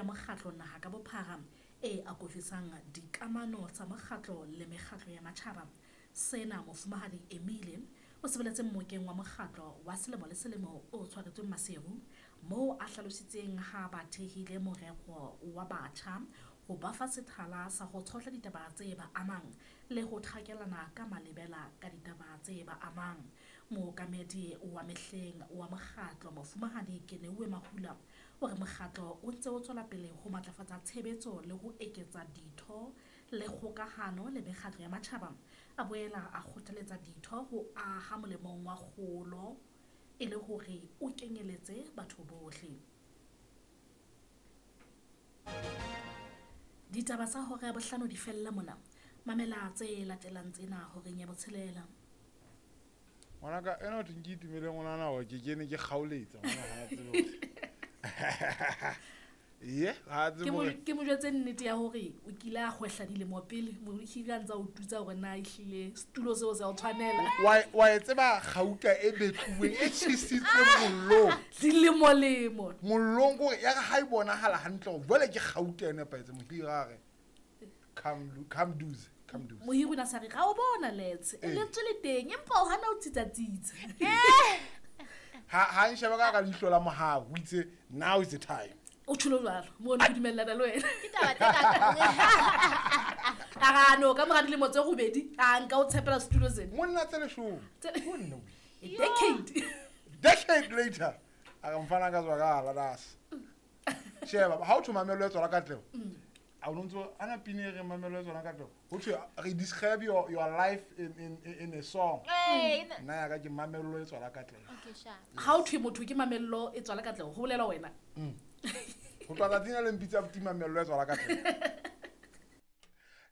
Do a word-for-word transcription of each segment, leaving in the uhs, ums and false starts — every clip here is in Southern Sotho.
ya mokgatlo naha ka bophara e akofisang dikamano tsa mokgatlo le mekgatlo ya matjhaba. Sena mofumahadi Emile o sebeletse mmokeng wa mokgatlo wa selemo le selemo o tshwaretsweng Maseru, moo a hlalositseng ha ba thehile morero wa batjha ho ba fa sethala sa ho tshohla ditaba tse ba amang le ho thakelana ka malebela ka ditaba tse ba amang. Mookamedi wa mehleng wa mokgatlo mofumahadi Keneuwe Mahula o re mokgatlo o ntse o tswela pele ho matlafatsa tshebetso le ho eketsa ditho le kgokahano le mekgatlo ya matjhaba. A boela a kgothaletsa ditho ho aha molemong wa kgolo e le hore o kenyeletse batho bohle. Ditaba tsa hora ya bohlano di fella mona. Mamela tse latelang tsena horeng ya botshelela. Ngwanaka ena o thweng ke itumele ngwanana hore ke kene ke kgaoletsa ngwana ha tsebe. Ye, ha tsebe. Ke mo ke mo jwetse nnete ya hore o kile a kgwehla dilemo pele, mohiri a ntsa o tutsa hore na ehlile setulo seo se o tshwanela. Wa wa e tseba kgauta e betluweng e tjhisitsweng mollong. Dilemo lemo. Mollong kore ya ha e bonahala hantle hore jwale ke kgauta e nepahetse mohiri a re come come duze. Come duze. Mohiri o na sa re ga o bona letse. Lentswe le teng empa o hana o tsitsa tsitsa. Ha ha nsheba ka ka leihlo la mohau o itse now is the time. O tsholo jwalo mo ne dumellana le wena. Ke taba tse ka a no ka mora dilemo tse robedi a nka o tshepela setulo sena. Monna tse leshome. Monna a decade. Decade later a re mfana ka tswa ka la das. Sheba ha o thoma mamelo e tswala katleho. A o ntso ana pine re mamelo e tswala katleho. Ho thwe re describe your your life in in in a song. Nna ya ka ke mamelo e tswala katleho. Okay sharp. Ha o thwe motho ke mamelo e tswala katleho ho bolela wena. Ho tloha tsatsing le mpitsa buti mamelo e tswala katleho.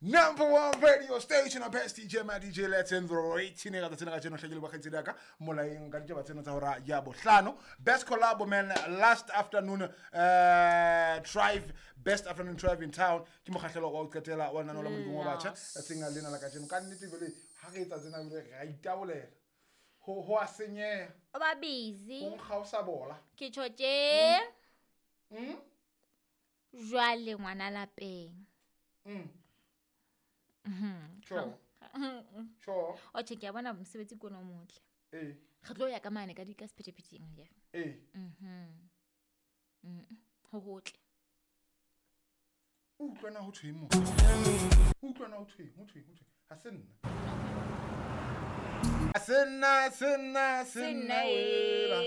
Number one radio station best D J my D J let's in the rating ka tsena ka tsena hlekile ba kgaitsedi ya ka molaeng ka ditaba tsena tsa hora ya bohlano. Best collab man last afternoon uh drive best afternoon drive in town ke mokgahlelo wa o qetela wa nano la modimo wa batjha tsenga lena la ka tseno ka nnete bele ha re etsa tsena bele ra itabolela ho ho a senyeha o ba busy o nkga o sa bola ke tjho tje mm jwale ngwana lapeng mm Mhm. Sure. Sure. O che ke a bona mosebetsi ke ona o motle. Eh. Re tlo ya ka mane ka di ka sephethepheteng ya. Eh. Mhm. Mhm. Ho hotle. O utlwana ho thweng mo? O utlwana ho thweng, ho thweng, ho thweng. Ha se nna. Ha se nna, se nna, se nna wela.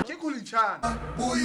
Ke kulichana.